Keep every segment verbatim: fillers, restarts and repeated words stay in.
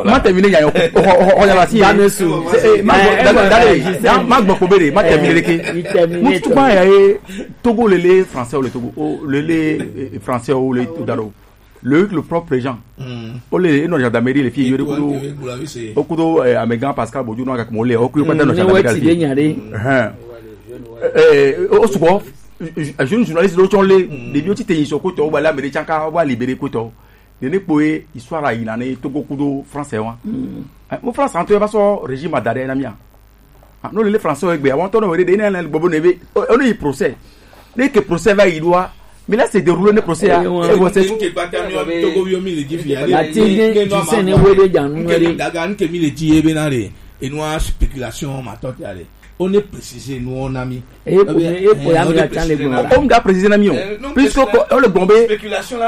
Ma terminer ya yo. O o o ya la si. Dame su. Eh, ma gbɔ dale dale ya ma gbɔ ko bere ma terminer ke. Mutu ma ya ye Togo lele français o le Togo o lele français o le dalo. Le le propre gens. O le no gendarmerie le fi yore kudo. O kudo amegan Pascal Bojo no ka mo le o kudo pa no gendarmerie. Eh, o suko jeune journaliste lo chon le de bi o ti te yin so ko to ba la mere chanka ba libérer ko to. Nene kpoe histoire ayi na ne Togo kudo français wa. Mo français anto e ba so régime adare na mia. No le français egbe awon to no were de na le gbogbo ne be o ni procès. Ne ke procès va yi do a. Mais là c'est déroulé ne procès a. E bo se tu ke pata mi o Togo bi o mi le ji fi ale. La ti ne tu se ne we be janu re. Daga nke mi le ji e be na re. E no spéculation ma to ti ale. O ne préciser no na mi. E po ya mi la tan le gbon. O mi da préciser na mi o. Puisque ko o le gbon be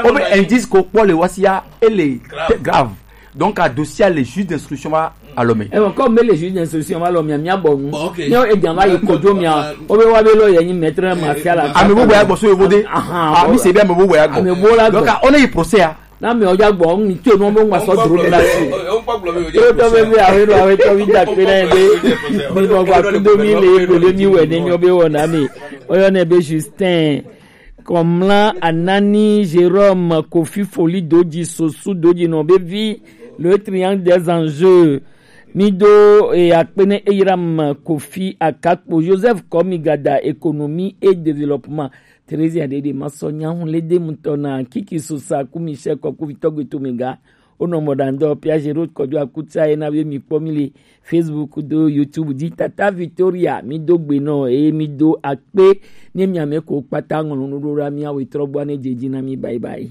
o be indice ko po le wasia e le grave. Donc à dossier le juge d'instruction va alome. E ko me le juge d'instruction va alome mi abo nu. Ni e jan va yi ko jo mi a. O be wa be lo ye ni maître Martial. A me bo ya gbo so yo bode. Ah mi se be me bo ya gbo. Donc on est procès a. Na mi oja gbo mi te no mo ma so duro mi la si. O to be be awe do awe to bi da pe na de. Mi mo gba ku do mi le ko le mi we ne mi o be wo na mi. Oyo ne be Justin. Komla Anani Jérôme Kofi Foli Doji Sosu Doji no be vi le triangle des enjeux. Mi do e akpene Eyram Kofi Akakpo Joseph Komigada économie et développement. Theresia Dede ma sɔ nya hun le de mutɔ na Kiki Sosa ku Michel kɔ ku vitɔ gbe to mi ga. O nɔ mɔ dan dɔ Pia Jero kɔjɔ akutsa ye na be mi kpɔ mi le Facebook do YouTube di Tata Victoria mi do gbe nɔ eye mi do akpe ne mi ame ko kpata ŋlɔ nu ɖo ɖa mi awe trɔ gbɔ ne dze dzi na mi bye bye.